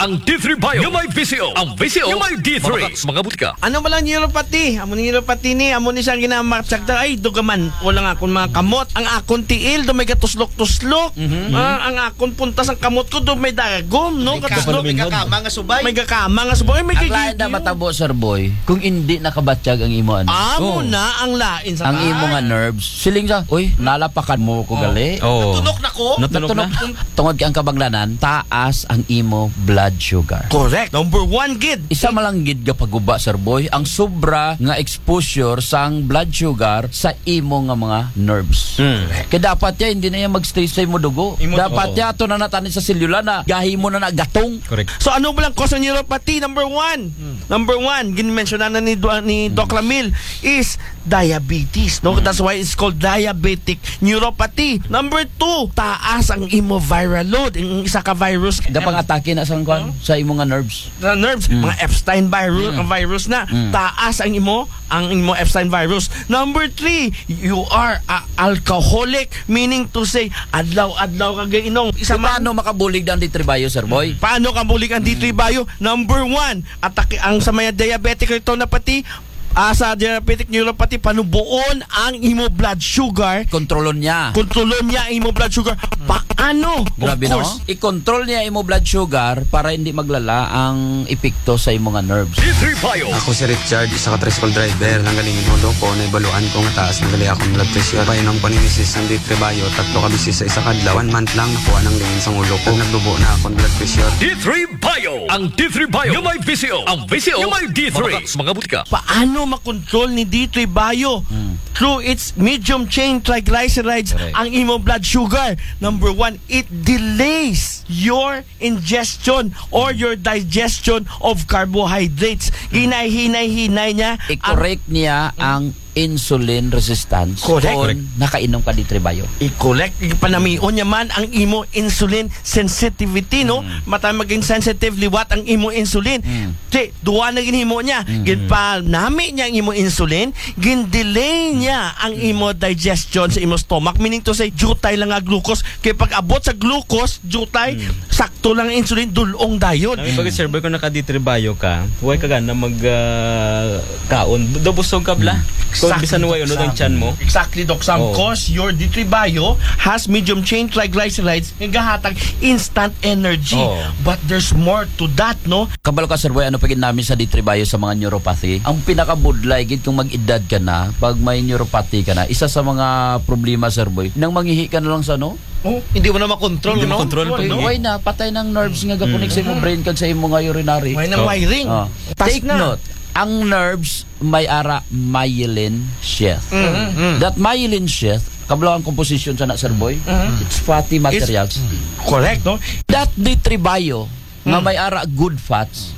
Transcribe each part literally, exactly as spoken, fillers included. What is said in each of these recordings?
Ang D three Bio nga may V C O. Ang V C O nga may D three. Mga, mga butika. Ano ba lang neuropathy? Amo ni neuropathy ni, amo ni siya ginamatsyag ta, ay, dugaman. Wala nga akong mga kamot. Ang akong tiil, do may gatuslok-tuslok. Mhm. Ah, ang akong puntas, ang kamot ko, do may dagom, no? May Gatuslok. May kakama nga subay. May kakama nga subay. Ay, may Ang lain na gigigil. Matabo, Sir Boy, kung hindi nakabatyag ang imo, ano? Amo Oh. na ang lain sa Ang taas. imo nga nerves. Siling sa, "Uy, nalapakan mo ko Oh. gali." Oh. Natunok na ko. Natunok Natunok. na. Tungod kay ang kabanglanan, taas ang imo blood sugar. Correct. Number one gid. Isa man lang gid nga paguba, Sir Boy, ang sobra nga exposure sang blood sugar sa imo nga mga nerves. Hmm. Kay dapat ya, hindi na yan mag-stay sa imo dugo. Imo Dapat dugo. ya, ato na natanin sa selula na, gahimo na nagatong. Correct. So, ano ba lang cause ng neuropathy? Number one. Hmm. Number one, ginmensyonan na ni, Do- ni Doc Hmm. Ramil is diabetes, no? Hmm. That's why it's called diabetic neuropathy. Number two, taas ang imo viral load. Ang isa ka virus. Gapang atake na sa kwan, Huh? sa imo nga nerves. Sa nerves, Mm. mga Epstein virus, Mm. ang virus na. Mm. Taas ang imo, ang imo Epstein virus. Number three, you are a alcoholic, meaning to say, adlaw-adlaw ka gainom. Isa So, man paano makabulig ang D three Bio, Sir Boy? Paano kabulig ang D three Mm. Bio? Number one, atake ang sa mga diabetic retinopathy, ah, sa diabetic neuropathy, panubuon ang imo blood sugar. Kontrolon niya. Kontrolon niya ang imo blood sugar. Paano? Of Grabe, no? course. I-control niya imo blood sugar para hindi maglala ang epekto sa imo nga nerves. D three Bio. Ako si Richard, isa ka tricycle driver. Nanggaling in ulo ko, naibaluan ko nga taas na gali akong blood pressure. Painom ko ni misis ang D three Bio, tatlo ka beses sa isa ka adlaw. One month lang, nakuha ng lingin sa ulo ko. Nagdubo na akong blood pressure. D three Bio. Ang D three Bio nga may V C O. Ang V C O nga may D three. Mga, mga butika. Paano makontrol ni D three Bio? Hmm. Through its medium chain triglycerides Correct. ang imo blood sugar. Number one, it delays your ingestion or your digestion of carbohydrates. Hinay-hinay-hinay niya ang I-correct niya ang insulin resistance Correct. kung Correct. nakainom ka D three Bio. I-correct, ipanamion niya man ang imo insulin sensitivity, no? Mm. Matay maging sensitive liwat ang imo insulin. Mm. Di, duwa na ginhimo niya. Mm. Ginpanami niya ang imo insulin, gindelay niya ang imo digestion sa imo stomach. Meaning to say, jutay lang nga glucose. Kaya pag abot sa glucose, jutay, Mm. sakto lang ang insulin, dulong dayon. Nami pag Sir Boy, kung naka D three Bio ka, huwag ka gana mag, ah, kaon. Do busog ka bla. Hmm. Kung Exactly, bisan way Doc unod ang Sam. tiyan mo. Exactly, Doc Sam. Oh. 'Cause your D three Bio has medium chain triglycerides nga gahatag instant energy. Oh. But there's more to that, no? Kabalo ka, Sir Boy, ano pa gid nami sa D three Bio sa mga neuropathy? Ang pinakabudlay gid kung mag-edad ka na, pag may neuropathy ka na, isa sa mga problema, Sir Boy, nang mangihi ka na lang sa ano? Oh, hindi mo na makontrol, Hindi no? makontrol, Why, pag no? Why na? Patay ng nerves nga gakonek sa imong Mm. brain kag sa imong nga urinary. Why na Oh. wiring? Ah. Tas Take na. note, ang nerves may ara myelin sheath. Mm. Mm. That myelin sheath, kabalo ang composition sa na, Sir Boy? Mm. It's fatty It's materials. Correct, no? That D three Bio, nga Mm. may ara good fats,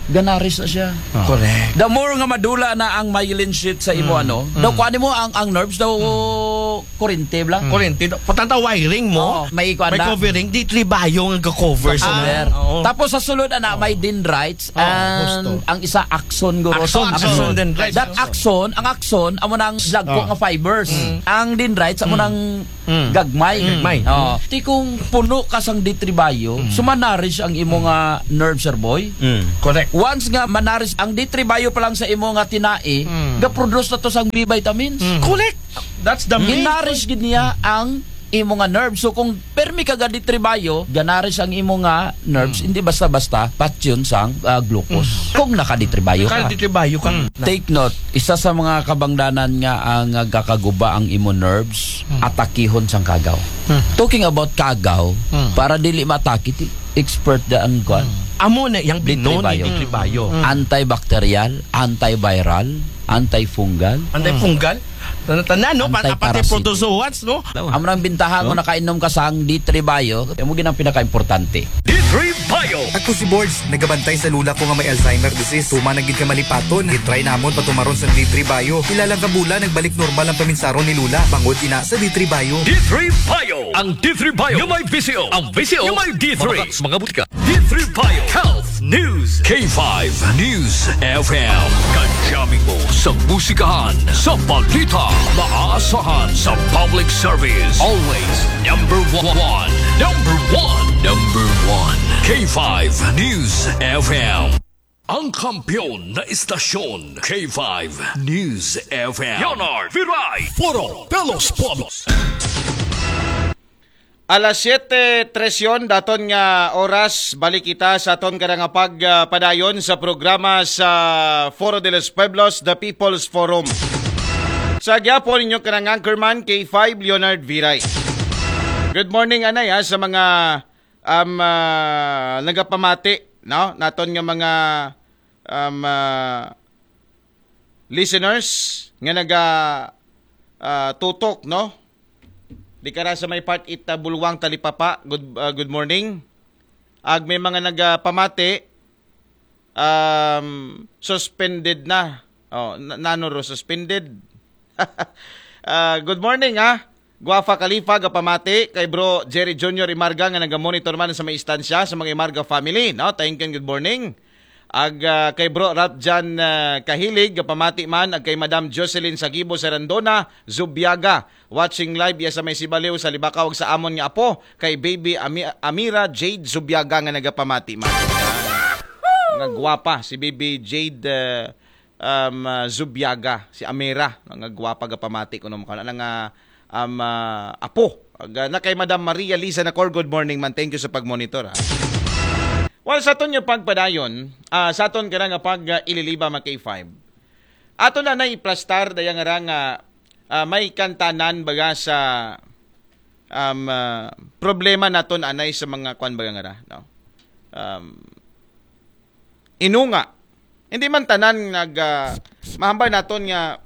ganaris na siya. Ah. Correct. The more nga madula na ang myelin sheath sa imo, Mm. ano, daw Mm. kuan mo ang, ang nerves daw Mm. kurente bla. Mm. Kurente. Patanta wiring mo. Oo, may kuan May na. covering, D three Bio nga ga-cover sa Cover. nerve. Oo. Tapos sa sulod ana, may Oo. dendrites Oo, and husto. ang isa axon guro. Axon, Axon. axon, dendrites, That axon. axon, ang axon amo nang dagko Ah. nga fibers. Mm. Ang dendrites amo Mm. nang Mm. gagmay. Mm. Gagmay. Oo. Ti kung puno ka sang D three Bio, Mm. so manarish ang imo nga nerve, Sir Boy. Mm. Correct. Once nga manarish ang D three Bio pa lang sa imo nga tinai, Mm. ga-produce na to sang B vitamins. Mm. Correct. That's the main Ginarish gid niya ang imo nga nerve. So kung permi ka ga D three Bio, ganarish ang imo nga nerves, Mm. hindi basta-basta patyon sang, ah, glucose. Mm. Kung naka D three Bio Naka ka. D three Bio ka. Mm. Take note, isa sa mga kabangdanan nga ang, ah, gakaguba ang imo nerves, Mm. atakihon sang kagaw. Mm. Talking about kagaw, Mm. para dili matake, ti expert da ang kwan. Mm. Amo na yang D three binon ni Bio. D three Bio. Mm. Antibacterial, antiviral, antifungal. Antifungal? Tanan-tanan, no? Pat-, Antiparasito. Pati protozoans, no? Amo nang bintaha kung nakainom ka sang D three Bio, amo gid ang pinakaimportante. D three Bio. Ako si Borge, nagabantay sa lula ko nga may Alzheimer disease. Tuman na gid ka malipaton. Gitry namon patumaron sa D three Bio. Pila lang ka bulan, nagbalik normal ang paminsaron ni lula. Bangod ina sa D three Bio. D three Bio. Ang D three Bio nga may V C O. Ang V C O nga may D three. Mga, mga butika. D Tribal Health News, K five News F M. Kajaming mo sa musikahan, sa balita, maasahan sa public service. Always number one, number one, number one. K five News F M. Ang kampiyon na istasyon, K five News F M. Leonard Viray, Foro de los Pueblos. Alas siyete trese daton nga oras, balik kita sa aton kada nga pagpadayon sa programa sa Foro de los Pueblos, The People's Forum. Sa gyapon, inyong kanang anchorman, K five Leonard Viray. Good morning, anay, ha, sa mga um, ah, nagapamati, no? Naton nga mga um, ah, listeners nga naga ah, tutok, no? Di ka ra sa may part ita Bulwang Talipapa. Good, ah, good morning. Ag may mga nagapamati, um, suspended na. Oh, na, nano ro suspended? Ah, good morning, ha. Guafa Khalifa, gapamati kay Bro Jerry Junior Imarga nga naga-monitor man sa may istansya, sa mga Imarga family, no? Thank you and good morning. Ag ah, kay Bro Ralph Jan ah, Kahilig, gapamati man, ag kay Madam Jocelyn Sagibo Serandona Zubiaga, watching live iya sa may Sibaliw sa Libakaw, ag sa amon nga apo kay Baby Ami- Amira Jade Zubiaga nga nagapamati man. Nga gwapa si Baby Jade ah, um, ah, Zubiaga, si Amira, no, nga gwapa, gapamati kuno man kana nga um, ah, apo. Ag, ah, na kay Madam Maria Liza Nacor, good morning man. Thank you sa pagmonitor, ha. Well, sa aton nga pagpadayon, ah, sa aton kana nga pag ah, ililiba, mga K five. Ato na na iplastar daya nga ra nga ah, may kantanan baga sa um, ah, problema naton anay sa mga kwan baga nga ra, no? Um, inunga. Hindi man tanan nag ah, mahambal naton nga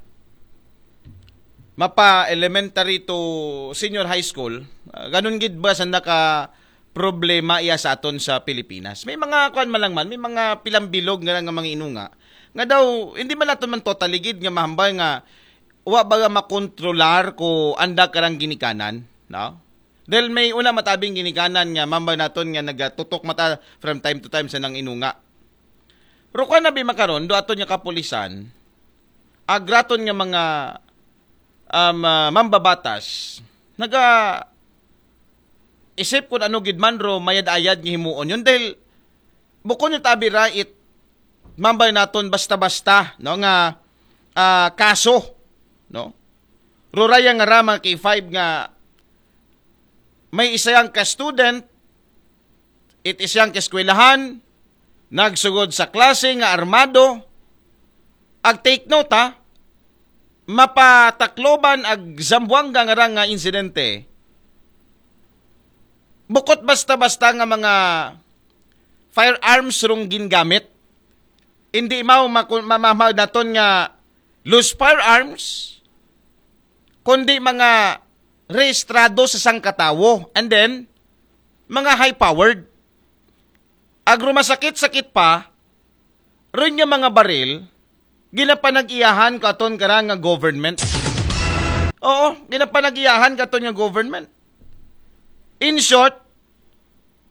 mapa elementary to senior high school, ah, ganun gid ba sa naka problema iya sa aton sa Pilipinas. May mga kwan man lang man, may mga pilambilog nga nga mga inunga nga daw hindi man naton man totally gid nga mahambal nga wa ba nga makontrolar ko anda karang ginikanan, no? Dahil may una matabing ginikanan nga mambal naton nga nagatutok mata from time to time sa nang inunga. Ro ka na bi makaron do aton nga kapulisan, agraton nga mga um, ah, mambabatas, naga isip kung ano gid man ro mayad-ayad nga himuon yun dahil bukon yung tabi ra it mambay naton basta-basta, no, nga ah, kaso, no? Ruraya nga ra, mga K five, nga may isayang ka student, it isayang ka eskwelahan, nagsugod sa klase nga armado, ag take note, ha, mapatakloban ag Zamboanga nga ra nga insidente. Bukot basta-basta nga mga firearms rong gingamit. Hindi mao maku- mamahal naton nga loose firearms, kundi mga rehistrado sa sangkatawo. And then, mga high-powered. Agro masakit-sakit pa, rin nga mga baril, ginapanag-iyahan katon kara nga government. Oo, ginapanag-iyahan katon nga government. In short,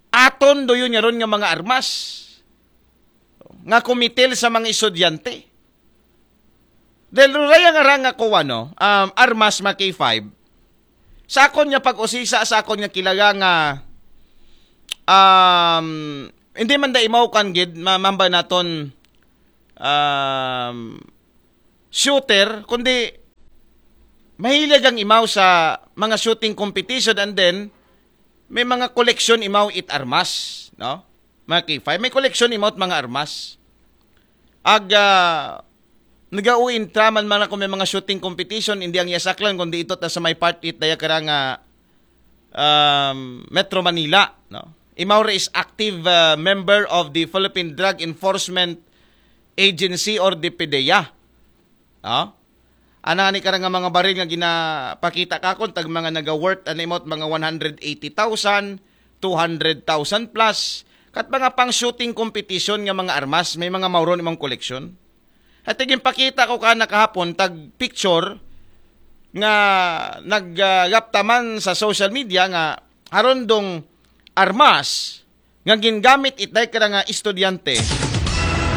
aton do yun nga ron nga mga armas nga kumitil sa mga estudyante. Dahil ruraya nga ra nga kuwan, no, um, armas, mga K five, sa akon nga pag-usisa, sa akon nga kilaga nga, um, hindi man da imaw kan gid, ma- mamba naton, um, shooter, kundi mahilig ang imaw sa mga shooting competition, and then may mga koleksyon imaw it armas, no? Mga K five, may koleksyon imaw it mga armas. Ag, ah, nagauintra man man ako may mga shooting competition, hindi ang yasaklan, kundi ito ta sa may part it daya kara nga, um, Metro Manila, no? Imaw ra is active, ah, member of the Philippine Drug Enforcement Agency or the PDEA. No? Ana ni kara nga mga baril nga ginapakita kakon tag mga naga-worth, ano, imot mga one hundred eighty thousand, two hundred thousand plus, kat mga pang shooting competition nga mga armas, may mga mauron imong koleksyon. At ginpakita ko ka nakahapon tag picture nga naggaptaman sa social media nga haron dong armas nga gingamit it day ka nga estudyante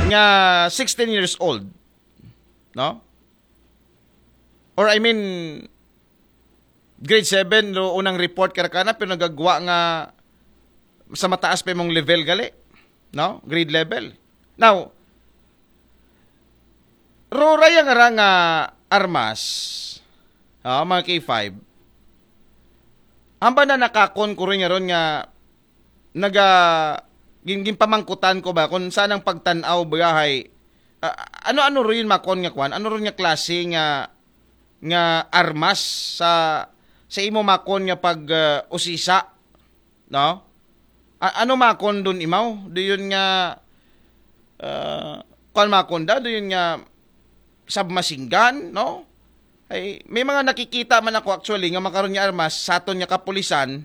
nga sixteen years old, no? Or I mean, grade seven, no, unang report ka kana, pero nagagwa nga sa mataas pa imong level gali, no? Grade level. Now, ruray ang ara nga armas, ah, mga K five, hamba na nakakon ko rin nga ron nga naga gin, ginpamangkutan ko ba kung saan ang pagtanaw ba hay, ah, ano-ano rin makon nga kwan, ano rin nga klase nga nga armas sa sa imo makon nga pag ah, usisa, no? A- ano makon dun imaw? Do yun nga ah, kwan makon da, do yun nga submachine gun, no? Ay, may mga nakikita man ako actually nga makaron nga armas sa aton nga kapulisan,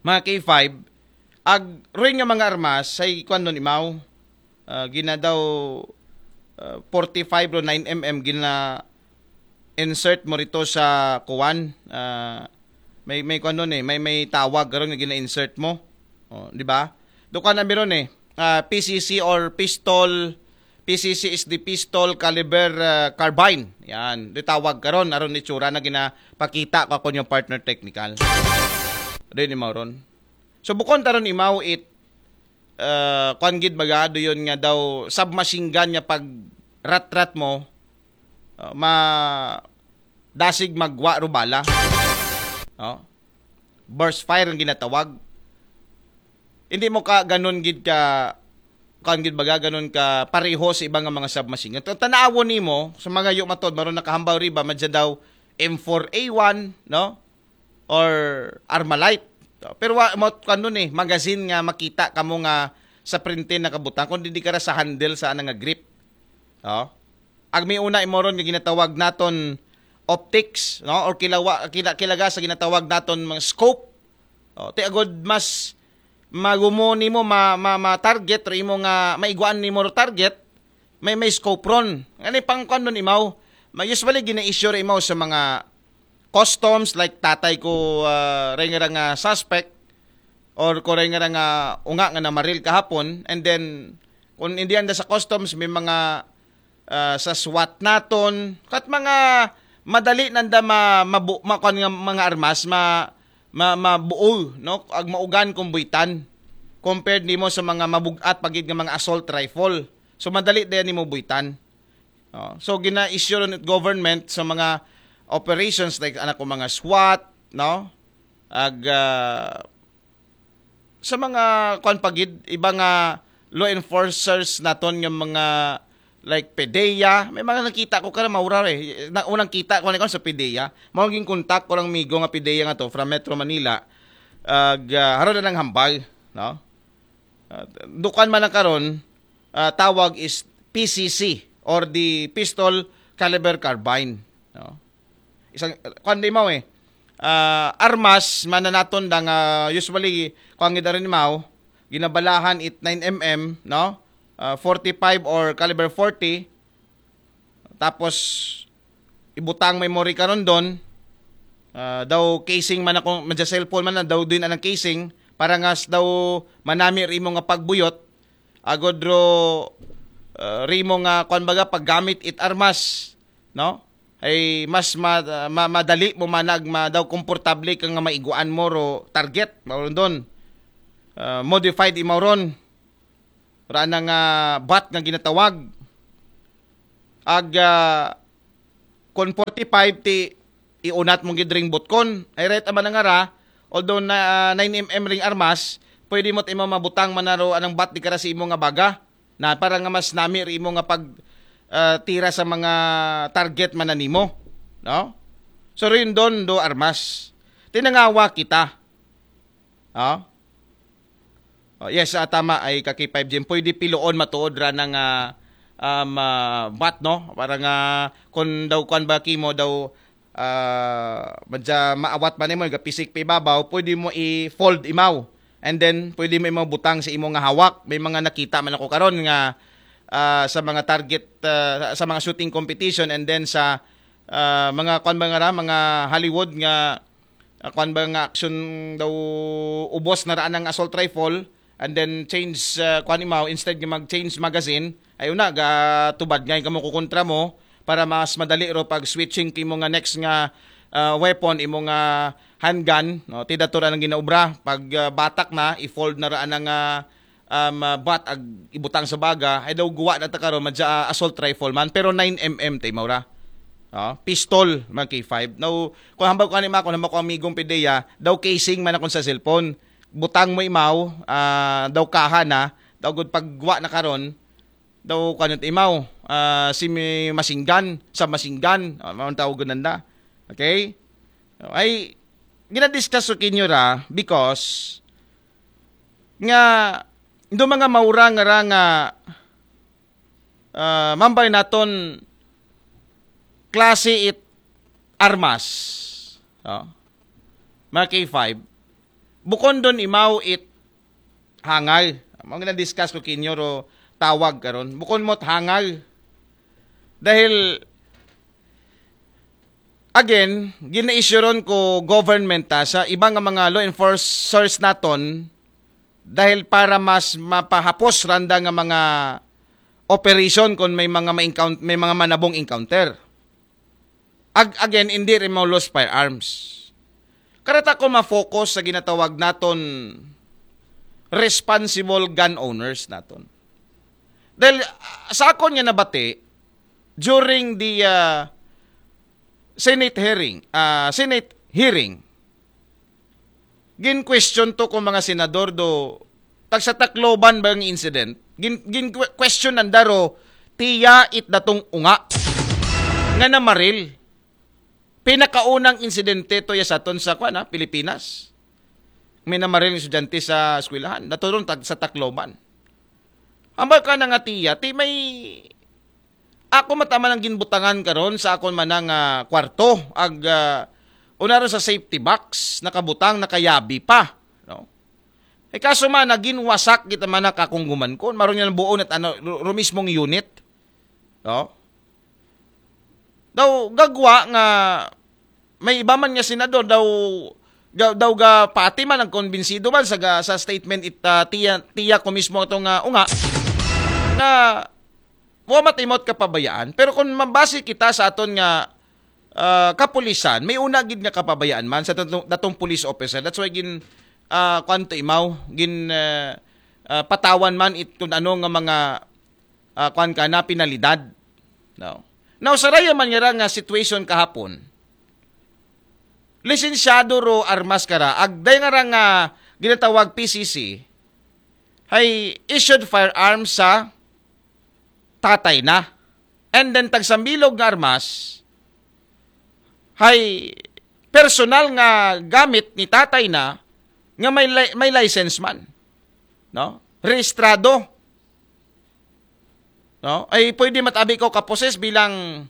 mga K five, ag ring nga mga armas ay kwan nun imaw, ah, gina daw ah, forty-five ro nine M M gina insert mo rito sa kuwan. Ah, may may kwan nun eh, may may tawag karon nga gina-insert mo. Oh, di ba? Dukan na meron eh. Ah, P C C or pistol, P C C is the pistol caliber ah, carbine. Yan, di tawag karon aron itsura na ginapakita ko ako yung partner technical. Di ni Mauron. So bukon taron imaw it uh, kwan gid baga do yun nga daw submachine gun nga pag rat-rat mo uh, ma dasig magwa ro bala, no? Burst fire ang ginatawag. Hindi mo ka ganun gid ka kwan gid baga ganun ka pareho sa iba nga mga submachine gun. Tan-awon nimo sa mga yu matod maron nakahambal riba madya daw M four A one, no? Or Armalite. Pero wa mo kwan nun eh, magazine nga makita kamo nga sa printe nakabutang kundi di ka ra sa handle sa ana nga grip. Oh. Ag may una imo ron nga ginatawag naton optics, no? Or kilawa kila, kilaga sa ginatawag naton mga scope. Oh, ti agod mas magumo nimo ma, ma, ma target or imo nga maiguan nimo ro target, may may scope ron. Ngani pang kwan nun imaw, ma usually gina-issue ra imaw sa mga customs like tatay ko uh, ring ra nga suspect or ko ring ra nga unga nga namaril kahapon, and then kung hindi anda sa customs may mga uh, sa SWAT naton kat mga madali nanda ma, mabu, ma, kwan nga mga armas ma, ma, mabuol, no? Ag maugan kung buitan compared nimo sa mga mabugat pagid nga mga assault rifle. So madali din nimo buitan. Oh, so gina-issue ron it government sa mga operations like anak ko mga SWAT, no? Ag ah, sa mga kwan pagid iba nga law enforcers naton nga mga like PDEA, may mga nakita ko kara maura eh. Na, unang kita ko ni sa PDEA. Mao ging contact ko lang migo nga PDEA nga to from Metro Manila. Ag ah, haro na ng hambal, no? Ah, dukan man ang karon, ah, tawag is P C C or the pistol caliber carbine, no? Isang kwan di mao eh. Ah, armas mananaton da nga usually kwan gid rin mao ginabalahan it nine M M, no? Ah, forty-five or caliber forty. Tapos ibutang memory karon don. Ah, daw casing man ako, madya cellphone man na, daw din anang casing para nga s- daw manami rimo nga pagbuyot agod ro ah, rimo nga kwan baga paggamit it armas, no? Ay mas ma, ma, madali mo manag ma, daw komportable ka nga maiguan mo ro target, mao don. Ah, modified imaw ron. Ra na nga bat nga ginatawag. Ag ah, kon forty-five ti iunat mong gid ring butkon. Ay right ama nga ra, although na ah, nine M M ring armas, pwede mo imo mabutang manaro anang bat di kara sa imo nga baga. Na para nga mas nami ri imo nga pag ah, tira sa mga target man na nimo, no? So rin don do armas. Tinangawa kita. Oh? Oh, yes, ah, tama ay kaki five G. Pwede piloon matuod ra na nga um, ah, bat, no? Para nga kung daw kwan ba kimo daw ah, madya maawat man nimo gapisik pa ibabaw, pwede mo i-fold imaw. And then pwede mo imaw butang sa imo nga hawak. May mga nakita man ako karon nga ah, sa mga target ah, sa mga shooting competition and then sa ah, mga kwan ba nga ra, mga Hollywood nga ah, kwan ba nga action daw ubos na raan ang assault rifle and then change, uh, kuan imaw, instead nga mag-change magazine, ay una, ga tubad nga kamo kukontra mo para mas madali ro pag switching kimo nga next nga, uh, weapon, imo nga handgun, no? Ti dato ra nang ginaobra, pag, uh, batak na, i-fold na ra anang, uh, um, uh, bat ag ibutang sa baga, ay daw guwa na ta karon, madya, uh, assault rifle man, pero nine M M tay mawra. Oh, pistol, mga K five. Now, kung hambal ko ani ma, kung hambal ko amigong pideya, daw casing man akong sa cellphone. Butang mo imaw, ah, daw kaha na, daw gud pagwa na karon, daw kanit imaw, ah, si mi-, masinggan, sa masinggan, ah, mao ang tawag nanda. Okay? Ay, ginadiscuss ko kinyo ra because nga do mga maura nga ra nga, ah, mambay naton klase it armas. Oh. Mga K five, bukon don imaw it hangal. Mao nga na-discuss ko kinyo ro tawag karon. Bukon mo't hangal. Dahil, again, gina-issue ron ko government, ha, sa iba nga mga law enforcers naton, dahil para mas mapahapos randa nga mga operation kung may mga ma-encounter, may mga manabong encounter. Ag-, again, hindi rin mo lost firearms. Karata ko ma-focus sa ginatawag naton responsible gun owners naton. Dahil, ah, sa akon nga nabati, during the, ah, Senate hearing, ah, Senate hearing, gin-question to kung mga senador do tagsa Tacloban ba ang incident? Gin, gin question nanda ro, tiya it datong unga nga namaril. Pinakaunang insidente to ya sa aton sa, kuan, ha, Pilipinas. May namaril nga estudyante sa eskwelahan. Dato ron tag-, sa Tacloban. Ambal ka na nga tiya, ti may ako mataman ang ginbutangan karon sa akon manang, ah, kwarto. Ag, ah, una ron sa safety box, nakabutang, nakayabi pa. No? Eh, kaso man, naging wasak kita man nakakungguman ko. Maroon yan buo na ano, ru-, ru-, mismong unit. No? Daw gagwa nga may iba man nga senador daw, daw, daw ga pati man ang konbinsido man sa ga, sa statement it, ah, tiya, tiya ko mismo itong, ah, unga na wa matimot kapabayaan. Pero kung mabase kita sa aton nga, ah, kapulisan, may una gid nga kapabayaan man sa datong, datong police officer. That's why gin, ah, kuan to imaw, gin, ah, ah, patawan man it kung ano nga mga, ah, kuan ka na, penalidad. No? Now, sa raya man nga ra nga situation kahapon, lisensyado ro armas kara, agday nga ra nga ginatawag P C C, hay issued firearms sa tatay na. And then, tagsambilog nga armas, hay personal nga gamit ni tatay na nga may li-, may license man. No? Rehistrado. No? Ay pwede matabi ko kaposes bilang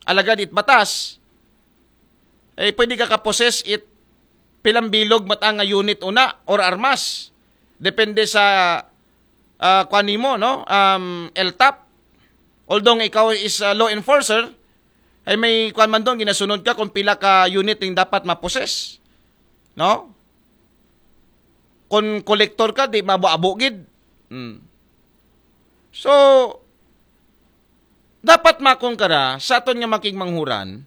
alagad it batas. Ay pwede ka kaposes it pilang bilog matang nga unit una or armas. Depende sa, ah, kuan nimo, no? Um, L T A P. Although nga ikaw is a law enforcer, ay may kuan man doon, ginasunod ka kung pila ka unit yung dapat maposes. No? Kung kolektor ka, di mabo-abo gid. Hmm. So, dapat makon kara sa aton nga makigmanghuran,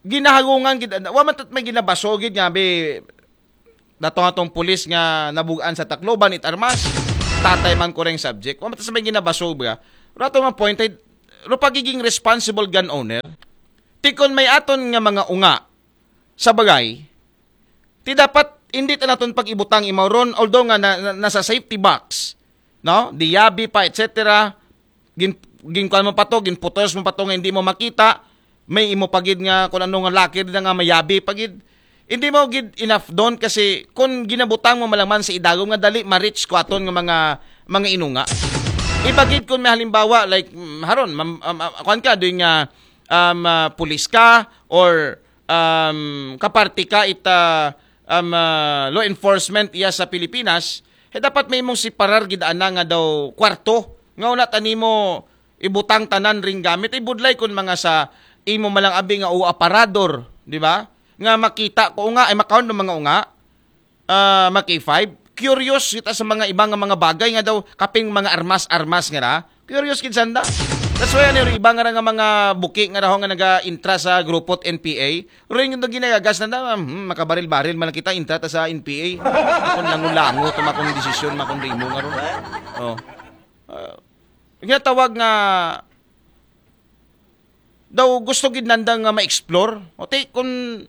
ginahagungan gid, wa man tat may ginabaso gid nga, bi, dato atong pulis nga nabugan sa Tacloban it armas, tatay man kureng subject. Wa man tat may ginabaso ba? Rato nga point ay, ro pagiging responsible gun owner. Tikon may aton nga mga unga sa bagay, ti dapat hindi ta naton pag-ibutang imaw ron, although nga na, na, nasa safety box, no? Diyabi pa, et cetera. Gin, ginkuan mo pa to, ginputos mo pa to nga hindi mo makita. May imo pagid nga kung ano nga laki na nga mayabi pagid. Hindi mo gid enough doon kasi kung ginabutang mo malaman sa idagom nga dali ma-reach ko aton nga mga, mga inunga. Ibagid kung may halimbawa, like, mm, haron, mam, um, uh, kuan ka, doon nga, um, uh, pulis ka, or, um, kaparti ka ita, um, uh, law enforcement iya sa Pilipinas, eh, dapat may imong separar gid ana nga daw kwarto. Nga una tanimo ibutang tanan ring gamit. Ibudlay kun mga sa imo malang abi nga o aparador, di ba? Nga makita ko nga, ay makaon ng mga unga, ah, mga K five, curious kita sa mga iba nga mga bagay nga daw kapin mga armas-armas nga ra. Curious gid sanda. That's why ano, iba nga ra nga mga buki nga raho nga naga-intra sa grupo't N P A, rin yung ginayagas na, hmm, makabaril-baril man kita, intra ta sa N P A. Akong lango-lango, tumakong desisyon, makong rimo nga ron. Oh. Uh, ginatawag nga daw gusto gid nanda nga ma-explore. O ti, kung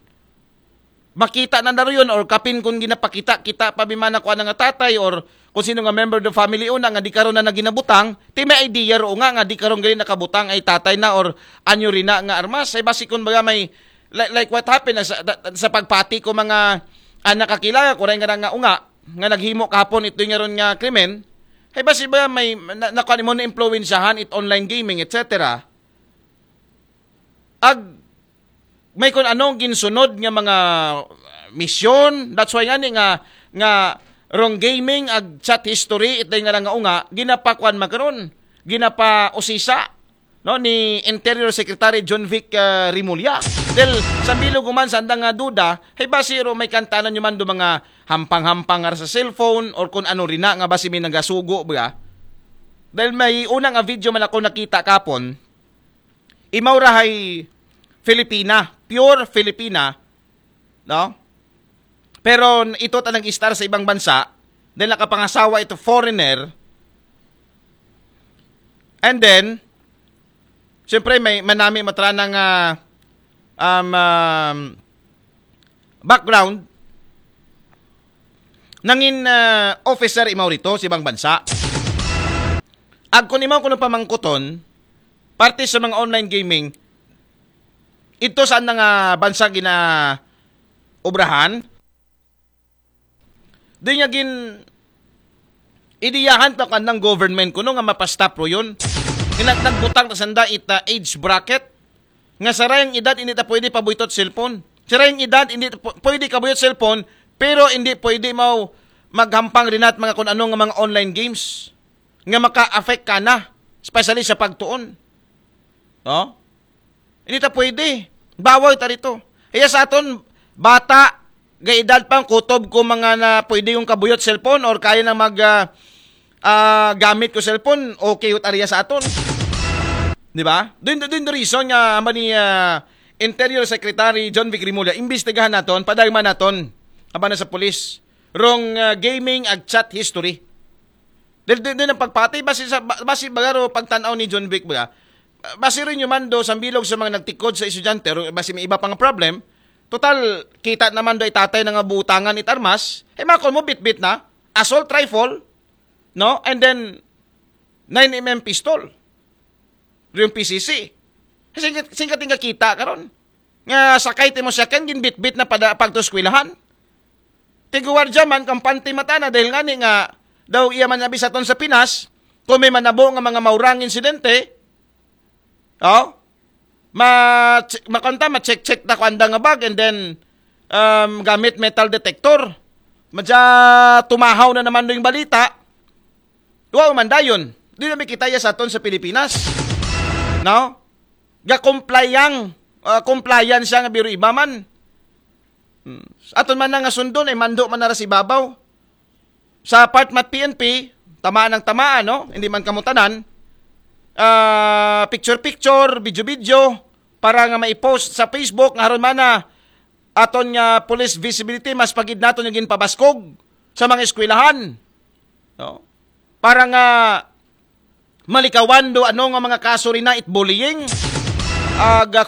makita na naro yun or kapin kung ginapakita kita pa bimana ko nga tatay or kung sino nga member of the family una nga di karon na naginabutang, ti may idea ro nga nga di karon gali nakabutang ay tatay na or anyo rin na nga armas. Ay basi kung baga may like, like what happened sa, sa pagpati ko mga anak kakilala ko rin nga nga unga nga naghimo kapon ito nga ron nga krimen. Ay basi ba may na, nakuha mo na impluwensyahan it online gaming, et cetera. Ag may kun anong ginsunod nga mga misyon. That's why nga ni nga nga wrong gaming ag chat history ito nga lang nga unga ginapakuan magkaron, ginapausisa no ni Interior Secretary John Vic uh, Rimulya. Del sa bilog man sa andang nga duda, hay basi ro may kantanan nyo man do mga hampang-hampang nga sa cellphone or kung ano rin na nga basi may nagasugo ba. Dahil may unang nga video man ako nakita kapon, imaw ra hay Filipina, pure Filipina, no? Pero ito ta nag-istar sa ibang bansa, dahil nakapangasawa ito foreigner, and then, siyempre may manami matrana nga um, um, background, nangin uh, officer imaw rito sa ibang bansa. Ag kung imaw kuno pamangkuton, parte sa mga online gaming, ito saan na nga bansa gina obrahan? Di nga gin idiyahan ta kan ng government kuno nga mapastop ro yun. Nga nag- nagbutang ta sanda ita age bracket nga sa rayang edad hindi ta pwede pabuytot cellphone. Sa rayang edad hindi ta pu- pwede kabuyot cellphone pero hindi pwede mau maghampang rinat mga kun ano nga mga online games nga maka-affect ka na, especially sa pagtuon. No? Hindi ta pwede. Bawal ta dito. Iya sa aton, bata, gaedad pang kutob ko mga na pwede yung kabuyot cellphone or kaya na mag ah, ah, gamit ko cellphone, okay ut ariya sa aton. Di ba? Doon doon the reason nga amba ni ah, Interior Secretary John Vic Rimulya, imbestigahan naton, padagman naton, aba na sa pulis. Wrong ah, gaming ag chat history. Dahil din, din ang pagpatay, basi, sa, ba- basi bagaro pagtanaw ni John Vic ba? Basi rin yung mando sa bilog sa mga nagtikod sa estudyante, ro- basi may iba pang problem. Total, kita naman do itatay na nga butangan it armas, eh makon mo bitbit na, assault rifle, no? And then, nine M M pistol. Yung P C C. Singkat, singkat yung kakita karon. Nga sakay ti mo siya kan ginbitbit na pada pagto eskwelahan. Tiguwardya man kampante mata na dahil nga ni nga daw iya man abi sa ton sa Pinas, kung may manabo nga mga maurang insidente, oh, ma makanta ma-check-check ta ko anda nga bag and then um, gamit metal detector. Madya tumahaw na naman yung balita. Wow, man dayon. Di na kita iya sa aton sa Pilipinas. No? Ga-comply yang uh, compliance siya nga biro iba man. Hmm. Aton man na nga sundon ay mando man nara si babaw. Sa part mat P N P, tamaan ng tamaan, no? Hindi man kamutanan. Ah, picture-picture, video-video para nga mai-post sa Facebook nga aron man na aton nga police visibility mas pagid naton yung ginpabaskog sa mga eskwelahan. No? Para nga malikawan do ano nga mga kaso rin na it bullying, ag ah,